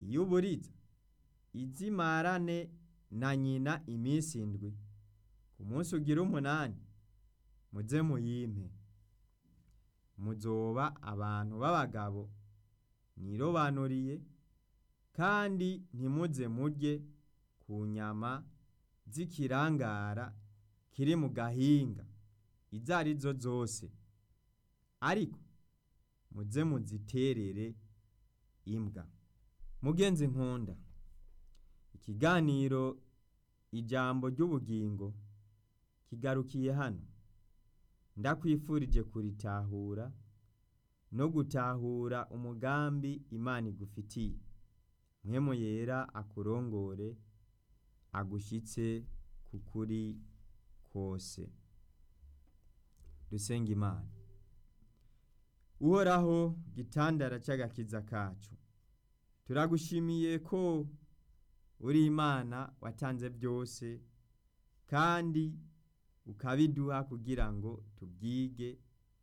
Iy'uburiza izimarane na nyina iminsi indwi, ku munsi ugira umunani muze muyimpe. Muzoba abantu b'abagabo nirobanuriye, kandi ntimuze murye ku nyama z'ikirangara kiri mu gahinga izo arizo zose, ariko muze muziterere imbwa. Mugenzi nkunda, ikiganiro Ijambo ry'ubugingo kigarukiye hano. Ndakwifurije kuritahura no gutahura umugambi Imana igufitiye. Mpwemu Yera akurongore, agushitse ku kuri kose. Dusenge Imana. Uhoraho gitandara c'agakiza kacu, turagushimiye ko uri Imana watanze byose kandi ukabiduha kugira ngo tubyige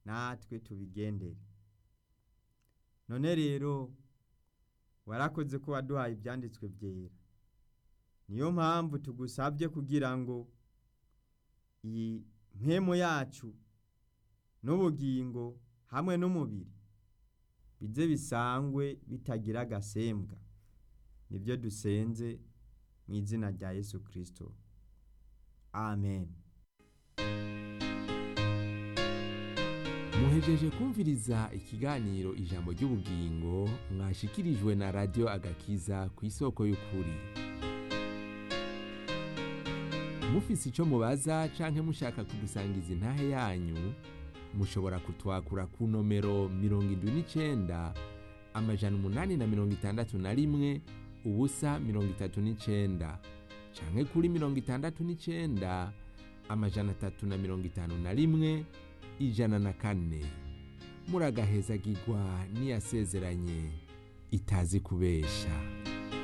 natwe tubigendere. None rero warakoze ko waduhaye ivyanditswe vyera. Niyo mpamvu tugusabye kugira ngo iyi mpwemu yacu n'ubugingo hamwe n'umubiri bize bisangwe bitagira agasembwa. Nibyo dusenze mu izina rya Yesu Kristo. Amen. Muhejeje kumviriza ikiganiro Ijambo ry'ubugingo mwashikirijwe na Radio Agakiza ku isoko y'ukuri. Mufise ico mubaza canke mushaka kudusangiza intahe yanyu, mushobora kutwakura ku nomero 79 861 039 canke kuri 69 351 104. Muragahezagirwa n'iyasezeranye itazi kubesha.